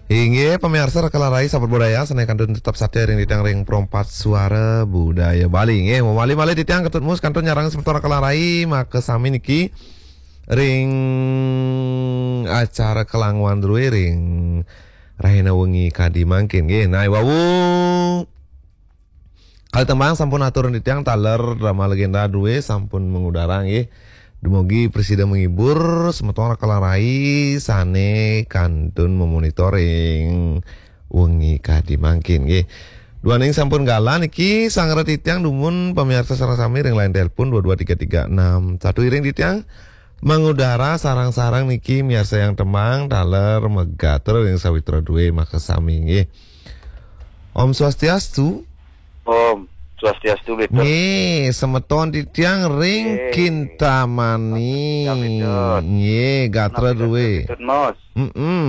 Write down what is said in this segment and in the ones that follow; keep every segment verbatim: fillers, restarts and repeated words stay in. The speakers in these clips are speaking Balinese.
Inggih, pamiarsa Raka lan Rai sahabat budaya, sané kantun tetep satia ring titiang ring Pro empat Suara Budaya Bali. Inggih, malih-malih titiang Ketut Mus kantun nyarengin semeton Raka lan Rai, makasami niki ring acara Kelanguan drué ring rahina wengi kadi mangkin. Inggih, nah, wau kalih tembang sampun atur titiang taler drama legenda drué sampun mangudara, nggih. Dumugi prasida menghibur semeton Raka lan Rai sané kantun memonitoring wengi kadi mangkin, nggih. Duaning sampun galah niki, sareng titiang dumun pamiarsa sareng sami ring line telepon dua dua tiga tiga enam satu, iring titiang mangudara sareng-sareng niki miarsayang tembang taler magatur ring sawitra drué, makasami, nggih. Om Swastiastu. Om Swastiastu, Bli Tut. Nggih, semeton titiang ring Nggih. Kintamani. Kintamani, Bli Tut. Nggih, gatra Kintamani, drué. Bli Tut, Mas. Mm-mm.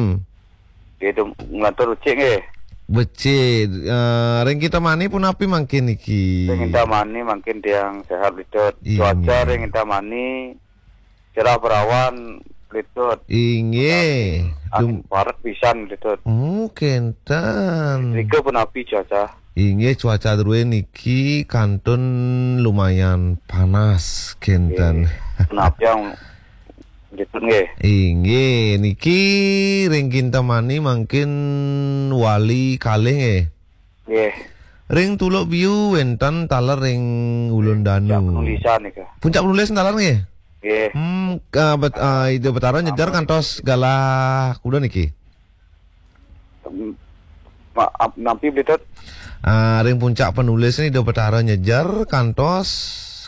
Nggih, dum-, nglantur becik nggih. Becik. Eh, ring Kintamani punapi mangkin niki? Ring Kintamani mangkin tiang sehat, Bli Tut. Inggih. Cuaca ring Kintamani cerah berawan, Bli Tut. Inggih. Angin Dum- paret pisan, Bli Tut. Oh, kénten. Rika punapi cuaca? Inggih, cuaca drué niki kantun lumayan panas, kénten. Nggih. Punapi yang, Bli Tut, nggih? Inggih, niki ring Kintamani mangkin wali kalih, nggih. Nggih. Ring Tuluk Biu wénten taler ring Ulun Danu. Puncak Penulisan nika. Puncak Penulisan taler nggih? Nggih. Hmm, ka bet-, ah, Ida Betara nyejar kantos galah kuda niki? Em, maaf, nampi, Bli Tut? Ah, ring Puncak Penulisan Ida Betara nyejar kantos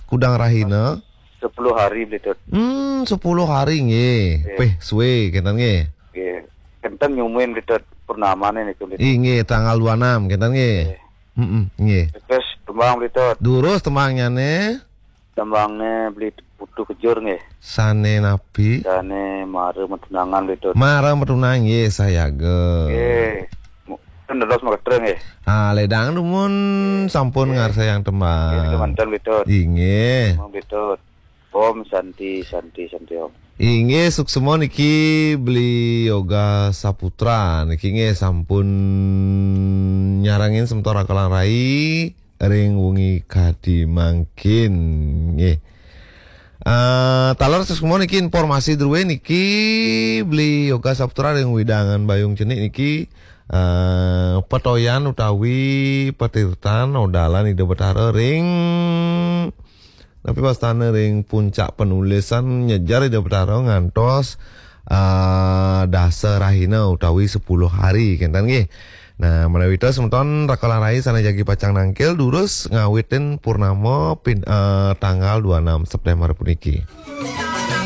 kudang rahina. Sepuluh hari, Bli Tut. Hmm, sepuluh hari nggih. Nggih. Pih, sué kénten nggih. Nggih. Kénten nyumuin, Bli Tut, purnamané niku, Bli Tut. Inggih, tanggal dua enam kénten nggih. Nggih. Mm-mm, nggih. Terus tembang, Bli Tut. Durus tembangnyané. Tembangné Beli Putu Kejur nggih. Sané napi? Sané Mara Matunangan, Bli Tut. Mara Matunangan nggih, sayaga. Nggih. Mu-, kan dados makastra nggih. Ah, ledang dumun sampun ngarsayang tembang. Nggih, kemanten, Bli Tut. Inggih. Tembang, Bli Tut. Om Santi, Santi, Santi Om. Inggih, suksma niki Beli Yoga Saputra niki nggih sampun nyarengin semeton Raka lan Rai ring wengi kadi mangkin nggih. Ah, taler suksma niki informasi drué niki Beli Yoga Saputra ring wewidangan Bayung Cenik niki, ah, petoyan utawi patirtan odalan Ida Betara ring Napi wastana ring Puncak Penulisan nyejar Ida Betara ngantos, ah, dasa rahina utawi sepuluh hari, kénten nggih. Nah, ménawi wénten semeton Raka lan Rai sané jagi pacang nangkil durus ngawitin purnama pin-, ah, tanggal dua enam September puniki.